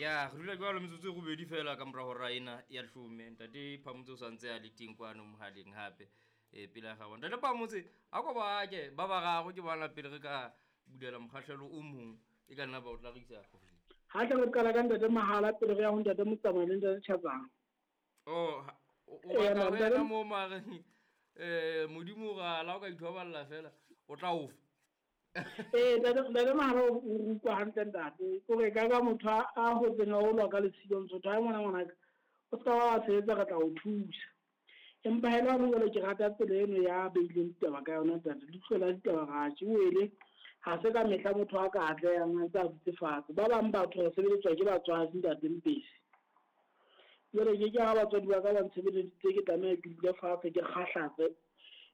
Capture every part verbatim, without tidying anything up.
Ya re dula jwalo metsotso e robedi fela ka mora hora ena ya leshome. Ntate Phamotse o santse a le teng kwano mohaleng hape e pele ya gago. Ntate Phamotse, a ko ba ke ba bararo ke bana pele re ka bulela mokgahlelo o mong e ka nna ba o tla re isa. Ha tla re qala ka ntate Mahala pele re ya ho ntate Motsamai le ntate Tjhatsang. Oh, o batla ho yena mo mare eh Modimo ra la o ka ithoballa fela o tla o fa. Eh ntate ntate Mahala o rutwa hantle ntate. O re ka ka motho a hotseng a holwa ka lesilo ntso tha ngwana ngwana o ska wa sebetsa re tla o thusa. Empa hela ho jwale ke rata tsela eno ya beileng ditaba ka yona ntate. Leihlo la ditaba ratjhe o ele ha se ka mehla motho a ka atlehang a ntse a dutse fatshe. Ba bang batho re sebeletswa ke batswadi ntate Mpesi. Jwale ke ke ha batswadi ba ka ba ntshebeleditse ke tlameha ke dule fatshe ke kgahlatse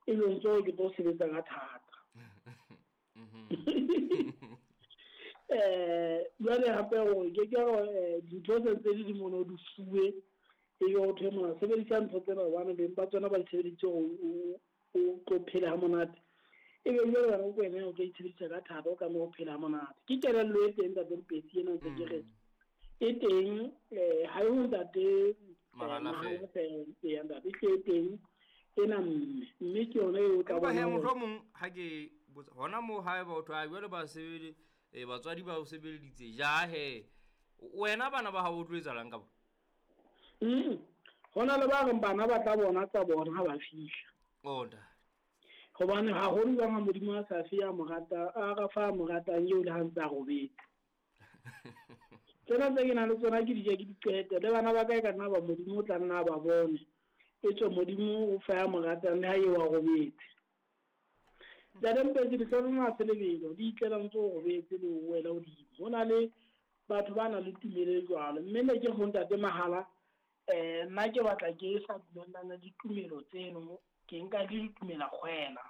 e be ntse ke tlo sebetsa ka thata. Eh jwale hape hore ke ke hore dintho tse ntse di di mono di fuwe e be ho thwe mona sebedisa ntho tsena hobane beng ba tsona ba di sebeditse hore o tlo phela ha monate. E be jwale wena o wena o tlo itshebedisa ka thata o tlameha ho phela ha monate. Ke kelello e teng ntate Mpesi ena ntse ke re e teng eh ha e ho ntate Mahala fela e ntate e teng ena mme mme ke yona eo tla bona. Mohlomong ha ke hona mo hae batho a jwale ba sebele batswadi ba o sebeleditse ja he wena bana ba hao o tlo etsalang ka bona? Mm hona le ba reng bana ba tla bona tsa bona ha ba fihla. Onda hobane haholo jwang ha Modimo a sa fe ya morata a ra fa moratang eo le ha ntse a robetse. Tsena tse ke nang le tsona ke di ja ke di qete le bana ba ka e ka nna ba Modimo o tla nna ba bone. E tswe Modimo o fa ya moratang le ha eo a robetse. Ntate Mpesi dihlongwana se lebelo di itlela ntse o robetse le o wela hodimo. Ho na le batho ba nang le tumelo e jwalo mme ne ke ho ntate Mahala eh nna ke batla ke sa dumellana le ditumelo tseno ke nka di ditumela kgwela.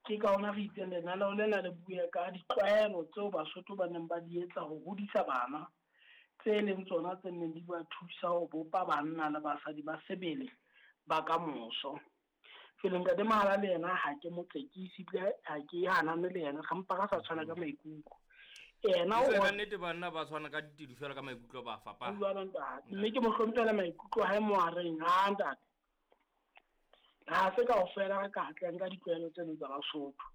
Ke ka hona re itseng lenaneo lena le bue ka ditlwaelo tseo Basotho ba neng ba di etsa ho hodisa bana tse leng tsona tse neng di ba thusa ho bopa banna le basadi ba sebele ba kamoso. Jwale ntate Mahala le yena ha ke mo tsekisi ebile ha ke hanane le yena ga mpa re sa tshwana ka maikutlo. Yena o ka nnete banna ba tshwana ka ditedu fela ka maikutlo ba fapana. Jwalo ntate mme ke mo hlomphela maikutlo hae mo a reng ha ntate. Ha se kaofela re ka atleha ka ditlwaelo tseno tsa Basotho.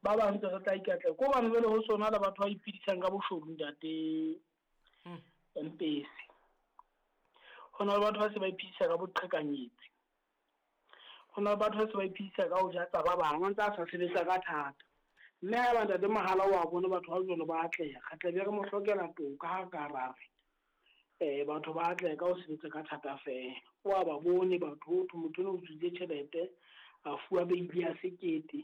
Ba bang ntse re tla ikatleha ko bane jwale ho sona le batho ba iphedisang ka boshodu ntate Mpesi. Ho na le batho ba se ba iphedisa ka boqhekanyetsi. Ho na le batho ba se ba iphedisa ka ho ja tsa ba bang ba ntse a sa sebetsa ka thata. Mme haeba ntate Mahala wa bone batho ba jwalo ba atleha re tla be re mo hlokela toka ha ka ra re eh batho ba atleha ka ho sebetsa ka thata fela. Wa ba bone batho ho thwe motho o utswitse tjhelete a fuwa beili ya sekete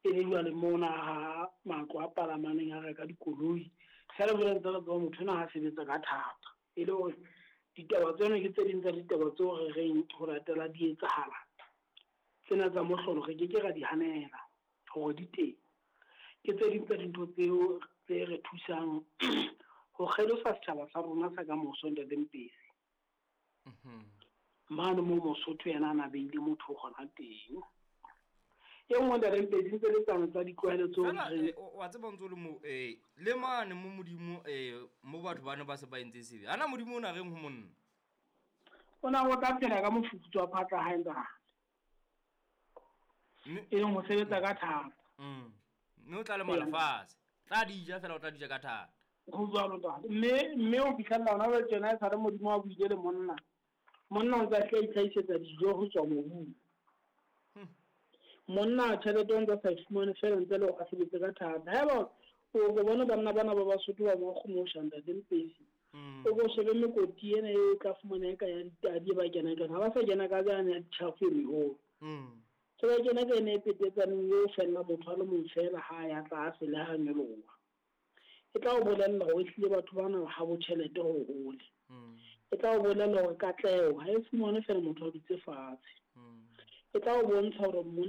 e le jwale mona ha matlo a palamaneng a reka dikoloi. Fela jwale ntse re tseba motho ena ha sebetsa ka thata e le hore ditaba tseno ke tse ding tsa ditaba tseo re reng ho latela di etsahala. Tsena tsa mohlolo re ke ke ra di hanela hore di teng. Ke tse ding tsa dintho tseo tse re thusang ho kgelosa setjhaba sa rona sa kamoso ntate Mpesi. Mane mo Mosotho yena a na beile motho gona teng. E nngwe ntate Mpesi ntse le tsana tsa ditlwaelo tseo re wa tseba ntse le mo eh le mane mo Modimo eh mo batho bana ba se ba entse sebe. Ana Modimo o na reng ho monna? O na o tla phela ka mofufutso wa phatla hae ntate. E leng ho sebetsa ka thata. Mm. Mme o tla le lefatshe. Tla di ja fela o tla di ja ka thata. Ho jwalo ntate. Mme mme o fihlella hona jwale tjena e sale Modimo a buile le monna. Monna o ntse a tla itlhahisetsa dijo ho tswa mobung. Monna tjhelete o ntse a sa e fumane fela ntse le hore a sebetse ka thata. Haeba o ko bone banna bana ba Basotho ba mo ntate Mpesi. O ko shebe mekoti ena e tla fumana e ka ya ditadi ba kena ka. Ha ba sa kena ka jana ya ditjhafo e meholo. Se ba kena ka ene e petetsaneng eo fella motho a le mong fela ha ya tlase le ha nyoloha. E tla o bolella hore ehlile batho bana ha bo tjhelete ho hole. E tla o bolella hore katleho ha e fumane fela motho a dutse fatshe. E tla o bontsha hore monna